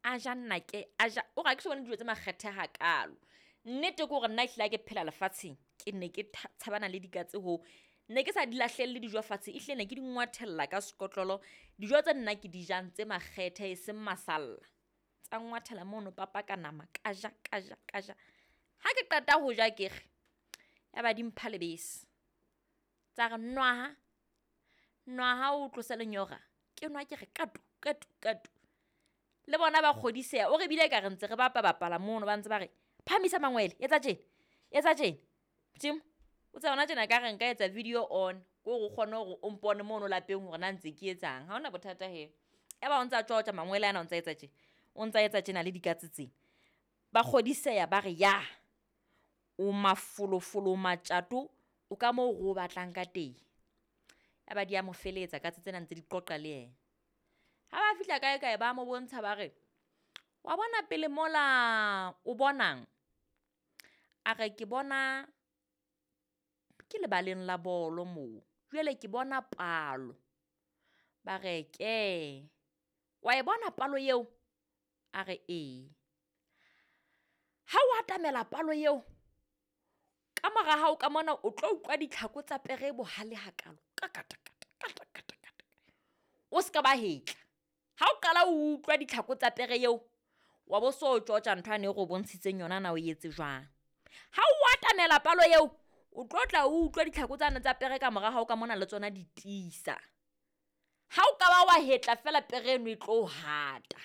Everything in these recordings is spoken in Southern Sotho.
A ja nnake, a ja. O re ha ke so bone dijo tse makgethe hakalo. Nnete ke hore nna ehlile ha ke phela lefatsheng, ke ne ke tshabana le dikatse hoo. Ne ke sa di lahlelle dijo fatshe, ehlile ne ke di ngwathella ka sekotlolo. Dijo tse nna ke di jang tse makgethe e seng masalla. Tsa ngwathela mono papa ka nama, ka ja, ka ja, ka ja. Ha ke qeta ho ja ke re, ya ba di mpha lebese. Tsa re nwaha, nwaha o tlose lenyora. Ke nwa ke re katu, katu, katu. Le bona ba kgodiseha, o re bile ekare ntse re bapa bapala mono, ba ntse ba re phahamisa mangwele, etsa tjena, etsa tjena. Modimo, o tsebe hona tjena ekare nka etsa video on, ke hore o kgone hore o mpone mono lapeng hore na ntse ke etsang. Ha hona bothata he. Ya ba o ntsa tjotja mangwele ana o ntsa etsa tje, o ntsa etsa tjena le dikatse tsena. Ba kgodiseha ba re ya, o mafolofolo, o matjato, o ka moo re o batlang ka teng. Ya ba di a mo feletsa katse tsena ntse di qoqa le yena. Ha ba fihla kae kae ba mo bontsha ba re, wa bona pele mola o bonang? A re ke bona ke lebaleng la bolo moo, jwale ke bona palo. Ba re ke, wa e bona palo eo? A re ee. Ha o atamela palo eo, ka mora hao ka mona o tlo utlwa ditlhako tsa pere e bohale hakalo, ka kata kata kata kata kata. O ska ba hetla. Ha o qala o utlwa ditlhako tsa pere eo, wa bo so tjotja ntho yane e re o bontshitseng yona na o etse jwang. Ha o atamela palo eo, o tlo tla o utlwa ditlhako tsane tsa pere ka mora hao ka mona le tsona di tiisa. Ha o ka ba wa hetla feela pere eno e tlo hata.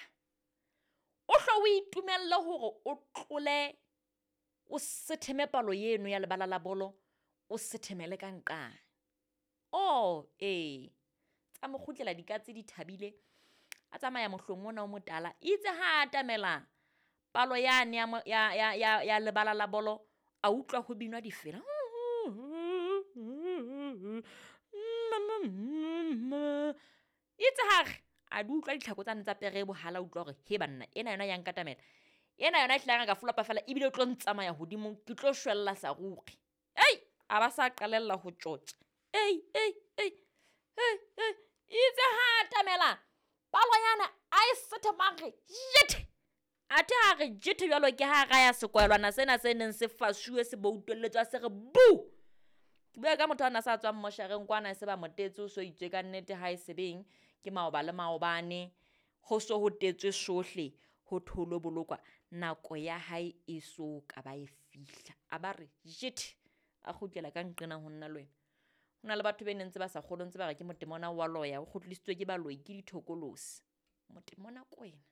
O hlo o itumelle hore o tlole, o setheme palo eno ya lebala la bolo, o sethemele ka nqane. Oh ee, tsa mo kgutlela dikatse di thabile. A tsamaya mohlong ona o motala, itse ha atamela palo yane ya lebala la bolo, a utlwa ho binwa difela. Itse ha re a di utlwa ditlhako tsane tsa pere e bohale, a utlwa hore he banna, ena yona ya nkatamela. Ena yona ehlile ha ka folopa feela ebile o tlo ntsamaya hodimo, ke tlo shwella sa ruri. A ba sa qalella ho tjotja. Itse ha atamela palo yana a e sethema a re jethe. Athe ha re jethe jwalo ke ha raya sekwalwana sena se neng se fasuwe se boutelletswe se re bu. Ke bua ka motho ana sa tswang moshareng kwana se ba motetse o so itswe ka nnete ha e sebeng ke maoba le maobane, ho so ho tetswe sohle ho tholo bolokwa, nako ya hae e so ka ba e fihla. A ba re jethe, a kgutlela ka nqena ho nna le wena. Ho na le batho be neng ntse ba sa kgolwe, ntse ba re ke motemona wa loya, o kgutlisitswe ke baloi ke dithokolosi. Motemona ke wena.